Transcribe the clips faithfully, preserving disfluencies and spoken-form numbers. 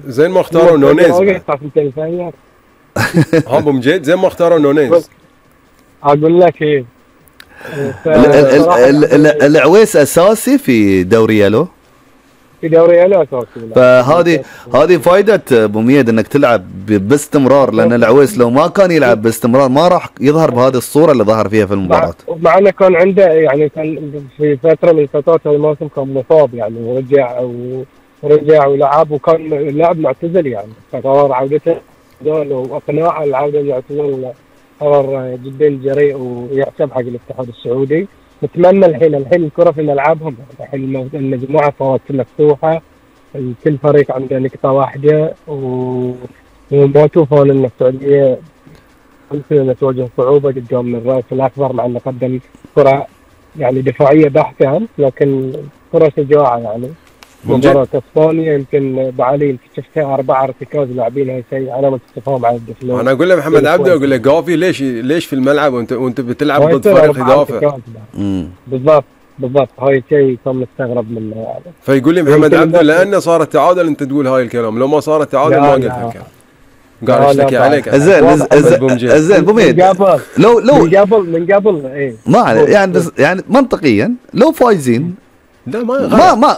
زين ما اختاروا نونيز ها ابو مجيد، زين ما اختاروا نونيز. اقول لك ايه، العويس اساسي في دوري يلو، في دوري يلو اساسي. فهذه هذه فائده ابو ميد انك تلعب باستمرار، لان العويس لو ما كان يلعب باستمرار ما راح يظهر بهذه الصوره اللي ظهر فيها في المباراه. مع انه كان عنده يعني كان في فتره من فترات الموسم كان مصاب يعني، ورجع ورجع ولعب، وكان اللاعب معتزل يعني، فقرار عودته واقناعه العوده للاعتزال قرار جدا جريء ويحسب حق الاتحاد السعودي. نتمنى الحين الحين الكره في ملعبهم، الحين المجموعه صارت مفتوحه، كل فريق عنده نقطه واحده، وما تشوفون ان السعوديه ممكن ان تواجه صعوبه قدام الراس الاكبر، مع انه قدم كره يعني دفاعيه بحته، لكن كره شجاعه يعني. مباراة اسبانيا يمكن بعلي انت شفتها اربع ارتكاز لاعبين، هاي شيء علامة استفهام على الدفلون. انا اقول له محمد عبده، اقول له قافي ليش ليش في الملعب وانت وانت بتلعب ضد فريق يدافع؟ بالضبط بالضبط، هاي شيء كان مستغرب منه يعني. فيقول لي محمد عبده لانه صار التعادل انت تقول هاي الكلام، لو ما صار التعادل ما قلت هالكلام. قاعد اشتكي عليك. زين زين ابو ميد، لو لو من قبل من قبل ايه ما عليه يعني، بس يعني منطقيا لو فايزين لا ما غلط. ما ما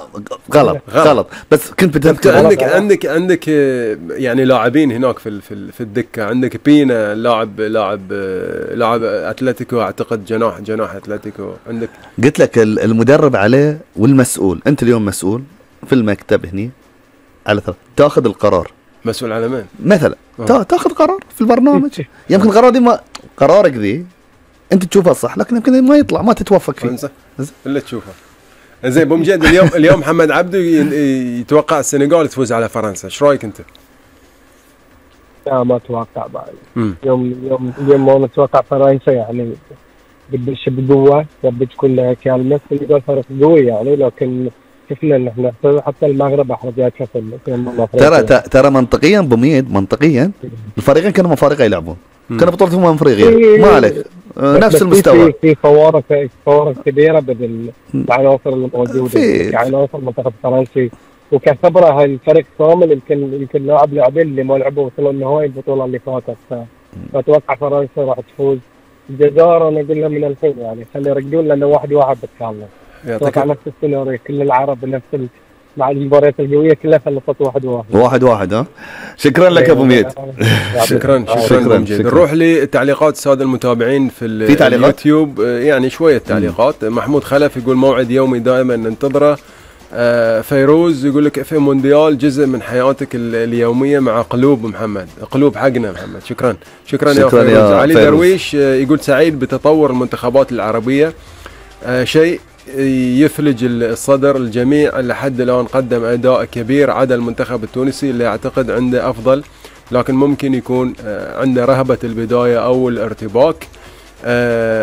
غلط غلط, غلط. بس كنت بتذكر عندك عندك عندك يعني لاعبين هناك في في في الدكه، عندك بينا لاعب لاعب لاعب اتلتيكو اعتقد، جناح جناح اتلتيكو عندك. قلت لك المدرب عليه والمسؤول، انت اليوم مسؤول في المكتب هني على ثلاث تاخذ القرار. مسؤول على مين؟ مثلا أوه. تاخذ قرار في البرنامج، يمكن القرار دي ما قرارك ذي انت تشوفها صح، لكن يمكن ما يطلع ما تتوفق فيه اللي تشوفه. زين ابو مجيد، اليوم اليوم محمد عبده يتوقع السنغال تفوز على فرنسا، ايش رايك انت؟ لا ما اتوقع بعد. يوم يوم اليوم ما نتوقع فرنسا يعني بدش بقوه، بدها تكون كالمه. السنغال فريق قوي يعني، لكن شفنا ان احنا حتى المغرب احرجتها في ترى ترى منطقيا ابو ميد، منطقيا الفريقين كانوا مفارقه يلعبون، كانوا بطولة امم افريقيا ما عليك نفس المستوى. في فوارق فوارق كبيره بين العناصر الموجوده، يعني عناصر المنتخب الفرنسي وكخبره هالفريق كامل، يمكن يمكن لاعب لاعبين اللي ما لعبوا وصلوا النهائي البطوله اللي فاتت، فاتوقع فرنسا راح تفوز. الجزائر انا اقول لهم من الحين يعني خلي يرجعون، لانه واحد واحد بتكلم اتوقع نفس السيناريو، كل العرب نفس مع المباريات القويه كلها خلصت واحد واحد واحد واحد. ها شكرا لك ابو ميد. شكرا شكرا شكرا. نروح لتعليقات الساده المتابعين في, في اليوتيوب، يعني شويه تعليقات. مم. محمود خلف يقول موعد يومي دائما ننتظره. آه فيروز يقول لك في مونديال جزء من حياتك اليوميه مع قلوب محمد، قلوب حقنا محمد. شكرا شكرا, شكرا يا فيروز. يا علي فيروز. درويش يقول سعيد بتطور المنتخبات العربيه، آه شيء يفلج الصدر. الجميع لحد الآن قدم أداء كبير عدا المنتخب التونسي اللي أعتقد عنده أفضل، لكن ممكن يكون عنده رهبة البداية أو الارتباك.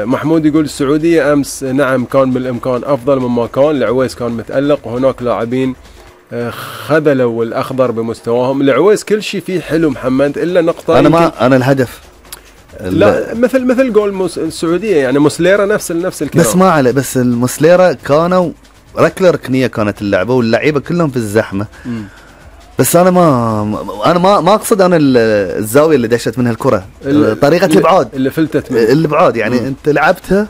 محمود يقول السعودية أمس نعم كان بالإمكان أفضل مما كان، العويس كان متألق وهناك لاعبين خذلوا الأخضر بمستواهم. العويس كل شيء فيه حلو محمد إلا نقطة. أنا ما أنا الهدف لا مثل مثل جول موس السعوديه يعني مسليرة نفس نفس الكلام، بس ما عليه. بس المسليرة كانوا ركله ركنيه كانت اللعبه واللعيبه كلهم في الزحمه. م. بس انا ما انا ما ما اقصد انا الزاويه اللي دشت منها الكره، طريقه الابعاد اللي فلتت منها الابعاد يعني. م. انت لعبتها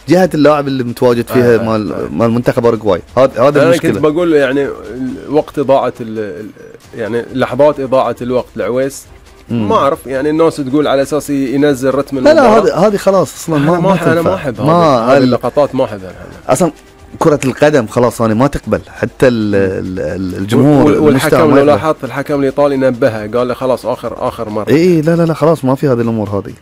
جهه اللاعب اللي متواجد فيها آه مال آه مال منتخب اوروغواي. هذا هذا المشكله. انا كنت بقول يعني وقت اضاعه يعني لحظات اضاعه الوقت العويس ما اعرف يعني الناس تقول على اساس ينزل رتم المباراه. لا لا هذه هذه خلاص اصلا ما ما انا ما احب هذه اللقطات، ما احبها اصلا. كرة القدم خلاص انا ما تقبل حتى الجمهور والحكم. لو لاحظت الحكم الايطالي نبهه قال له خلاص اخر اخر مره. اي لا لا لا خلاص ما في هذه الامور هذه.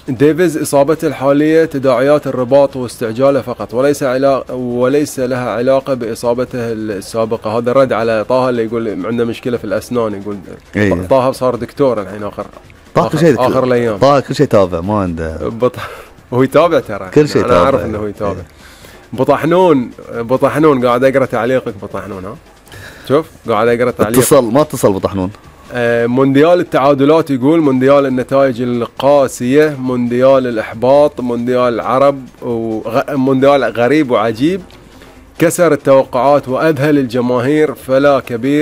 ديفيز اصابته الحاليه تداعيات الرباط واستعجاله فقط، وليس علاقه وليس لها علاقه باصابته السابقه. هذا رد على طه اللي يقول عنده مشكله في الاسنان. يقول إيه. طه صار دكتور الحين اخر طه كل شيء اخر الايام. طه كل شيء تابع ما عنده بط... هو يتابع ترى كل شيء انا اعرف انه هو يتابع. إيه. بطحنون بطحنون قاعد اقرا تعليقك بطحنون. ها شوف قاعد اقرا تعليق. اتصل ما اتصل بطحنون. مونديال التعادلات يقول مونديال النتائج القاسية، مونديال الإحباط، مونديال العرب، ومونديال غريب وعجيب. كسر التوقعات وأذهل الجماهير، فلا كبير